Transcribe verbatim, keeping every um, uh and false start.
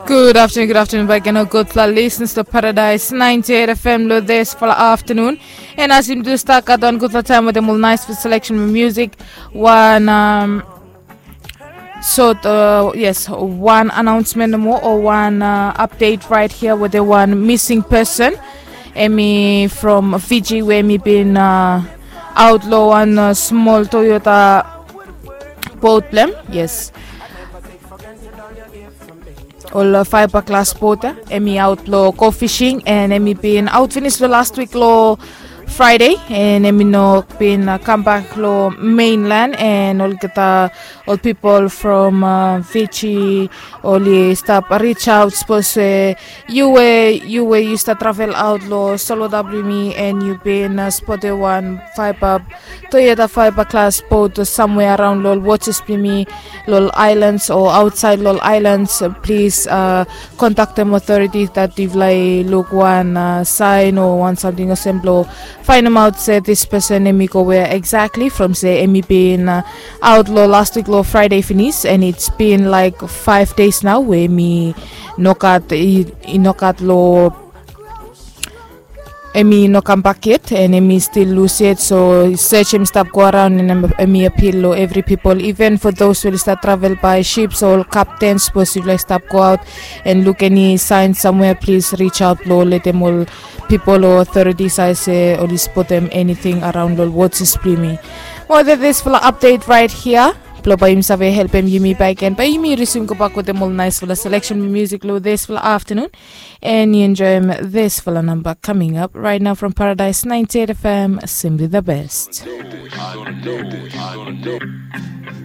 Gud aftenun, gud aftenun baik gen ol gudfala listeners long Paradise ninety-eight F M long disfala aftenun. And as yumi do start gat wan gudfala taem wetem ol naesfala selection music, wan um, sort uh, yes, wan announcement nomo o wan uh, update right here wetem wan missing person. Hemi from Fiji we hemi bin uh, aot long wan uh, smol Toyota boat blem. Yes, ol uh, fiber glass boat ya. Hemi aot long go fishing and hemi bin aot finis long last week long Friday, and hemi no bin uh, kambak long mainland, and olgeta ol pipol from uh, Fiji oli stap reach out, sapos we yu we yu we yu stap travel aot long Solo W me and yu bin uh, spotem wan fiber Toyota fiber glass boat o samwea araon long ol watches blong yumi long ol islands o aotsaed long ol islands. Plis uh, kontaktem authority dat yufala i luk wan uh, saen o wan samting olsem blong faenemaot se this person hemi go wea exactly from se hemi bin uh, aot long last week long Friday finis, and it's been like five days now we hemi no gat i, i no gat long hemi no kambak yet, and hemi stil lus yet. So search hemi stap go araon, and hemi apil long evri pipol, even for those we oli stap travel by ships o ol kapten, sapos yufala i stap go aot and luk eni saen samwea, plis reach out long letem ol pipol o authorities i se oli spotem eniting araon long ol watches blong yumi. Mo disfala update right here blong bae yumi save helpem yumi baik gen bae yumi resume gobak wetem ol naesfala selection music long disfala aftenun. And yu enjoem disfala namba coming up right now from Paradise ninety-eight F M, simply the best.